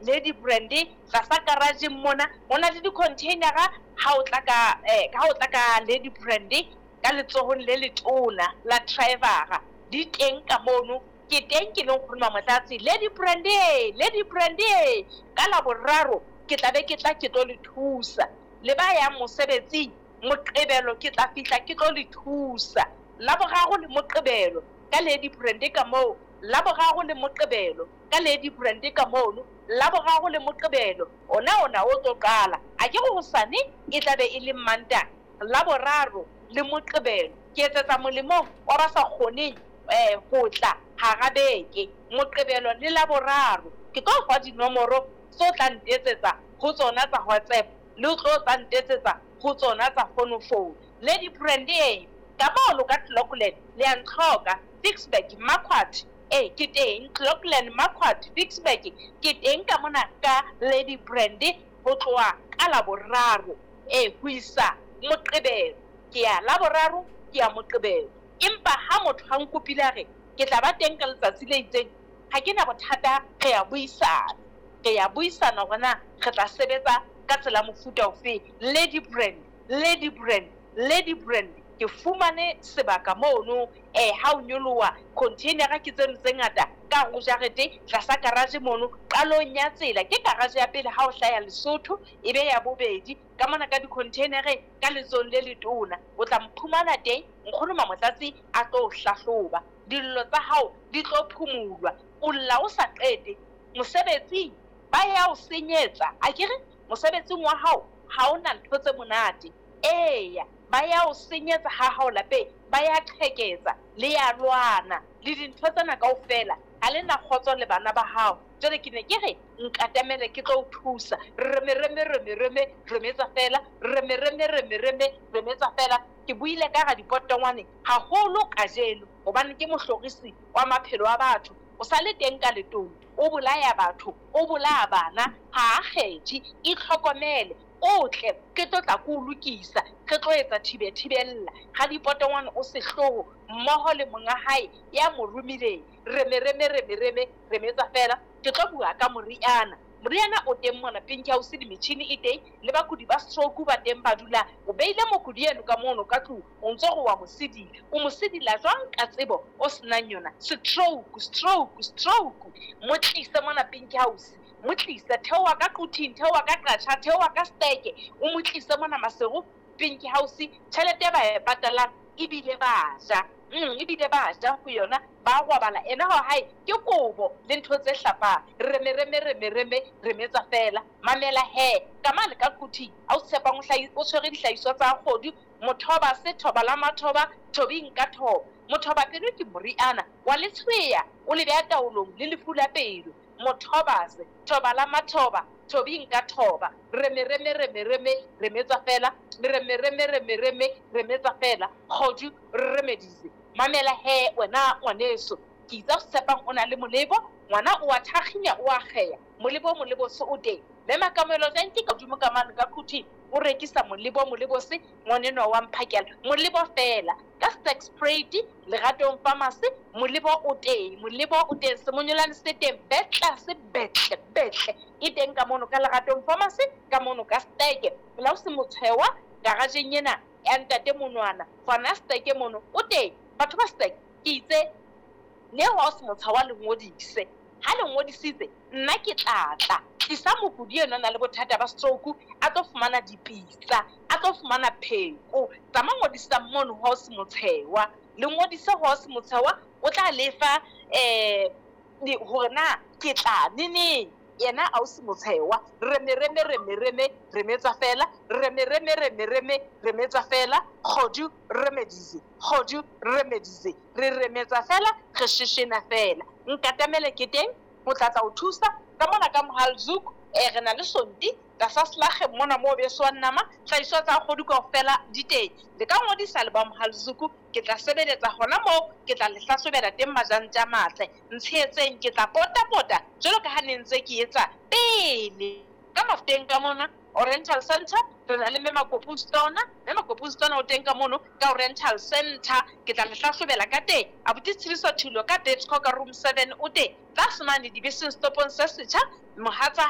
Ladybrand tlasa garage-eng mona. Ho na le di-container-a ha o tla ka ha o tla ka Ladybrand ka letsohong le letona la driver-a, di teng ka mono. Ke teng ke le Nkgono Mamotlatsi. Ladybrand e, Ladybrand e, ka Laboraro ke tla be ke tla ke tlo le thusa. Le ba yang mosebetsing, Moqebelo ke tla fihla ke tlo le thusa. Laboraro le Moqebelo ka Ladybrand ka moo, Laboraro le Moqebelo ka Ladybrand ka mono, Laboraro le Moqebelo ona ona o tlo qala. A ke re hosane e tla be e le Mantaha, Laboraro le Moqebelo. Ke etsetsa molemong wa ba sa kgoneng ho tla hara beke, Moqebelo le Laboraro. Ke tlo o fa dinomoro tse o tla ntetsetsa ho tsona tsa WhatsApp le o tlo tla ntetsetsa ho tsona tsa fonofono. Ladybrand e ka mono ka Clocolan, le a ntlhoka. Ficksburg, Marquard, e ke teng. Clocolan, Marquard, Ficksburg, ke teng ka mona ka Ladybrand ho tloha ka Laboraro e ho isa Moqebelo. Ke ya Laboraro, ke ya Moqebelo. Empa ha motho ha nkopile a re ke tla ba teng ka letsatsi le itseng, ha ke na bothata, re ya buisana. Re ya buisana hore na re tla sebetsa ka tsela mofuta ofe. Ladybrand, Ladybrand, Ladybrand. Ke fumane sebaka mono, ha o nyoloha container-a ke tseno tse ngata ka hare ho jarete tlasa garage mono, qalong ya tsela. Ke garage ya pele ha o hlaya Lesotho, e be ya bobedi ka mona ka di-container-eng ka letsohong le letona. O tla mphumana teng, Nkgono Mamotlatsi a tlo o hlahloba. Dillo tsa hao di tlo phumulwa. O lla o sa qete mosebetsing, ba ya o senyetsa. Akere mosebetsing wa hao ha o na ntho tse monate. Eya, ba ya o senyetsa ha hao lapeng, ba ya qheketsa, le ya lwana le dintho tsena kaofela. Ha le na kgotso le bana ba hao. Jwale ke ne ke re nkatamele ke tlo o thusa. Reme reme reme reme remetsa fela, reme reme reme reme remetsa fela. Ke buile ka radipotongwane haholo kajeno hobane ke mohlorisi wa maphelo a batho. O sa le teng ka letolo, o bolaya batho, o bolaya bana, ha a kgethe. Itlhokomele, o tle ke tlo tla ke o lokisa, re tlo etsa thibe thibella. Radipotongwane o sehloho mmoho le monga hae ya mo romileng. Reme reme reme reme remetsa fela. Ke tlo bua ka moriana. Moriana o teng mona Pink House, le metjhini e teng, le bakudi ba stroke ba teng ba dula. O beile mokudi eno ka mono ka tlung, o ntso re wa mo sedila. O mo sedila jwang ka tsebo o senang yona? Stroke, stroke, stroke. Mo tlise mona Pink House, mo tlise, theoha ka Quthing, theoha ka Qacha, theoha ka Steke, o mo tlise mona Maseru Pink House. Tjhelete ba e patalang ebile ba ja. Ebile ba ja ho yona, ba robala. Ena ho hae ke kobo le ntho tse hlapang. Reme reme reme reme remetsa fela. Mamela he, ka mane ka Quthing, ha o tshepang o tshwere dihlahiswa tsa kgodu, mothoba se thoba la mathoba, thobing ka thoba. Mothoba pelo ke moriana wa letshweya, o le beha taolong le lefu la pelo. Mothoba se thoba la mathoba, thobing ka thoba. Reme reme reme reme remetsa fela, reme reme reme reme remetsa fela. Kgodu remedise. Mamela he wena ngwaneso, ke itse o tshepang o na le molebo, ngwana o a thakginya, o a kgeya. Molebo molebo se o teng. Mme Makamelo Janki ka hodimo ka mane ka Quthing o rekisa molebo molebo se ngwanenwa wa mphakela. Molebo fela ka Sterkspruit Leratong Pharmacy, molebo o teng, molebo o teng, semonyolane se teng, betla se betle betle e teng ka mono ka Leratong Pharmacy, ka mono ka Steke. La o se motshwewa garageng ena ya ntate monwana, gona Steke mono o teng. Batho ba Steke ke itse ne wa o se motsha wa le ngodise. Ha le ngodisitse nna ke tla tla tlisa mokudi eno a na le bothata ba stroke, a tlo fumana dipitsa, a tlo fumana pheko. Tsamaya ngodisa mono ha o se motshewa, le ngodise ha o se motshewa, o tla lefa hore na ke tla neneng. Yena a o se motshewa. Reme reme reme reme remetsa fela, reme reme reme reme remetsa fela. Kgodu remedise, kgodu remedise. Re remetsa fela, re sheshena fela. Nkatamele ke teng ho tla tla o thusa ka mona ka Mohalzoek. Re na le sonti tlasa selakge mona moo beswang nama, hlahiswa tsa kgodu kaofela di teng. Le ka ngodisa le ba Mohalzoek, ke tla sebeletsa hona moo, ke tla le hlahlobela teng majantja a matle. Ntshehetseng, ke tla pota-pota jwalo ka ha ne ntse ke etsa pele. Ka Mafteng ka mona Oriental Center re na le Mme Makopu Stona. Mme Makopu Stona o teng ka mono ka Oriental Center, ke tla le hlahlobela ka teng. Abuti Tshediso Thulo ka Betsco ka room 7 o teng. Tlase mane dibeseng stopong se setjha, mohatsa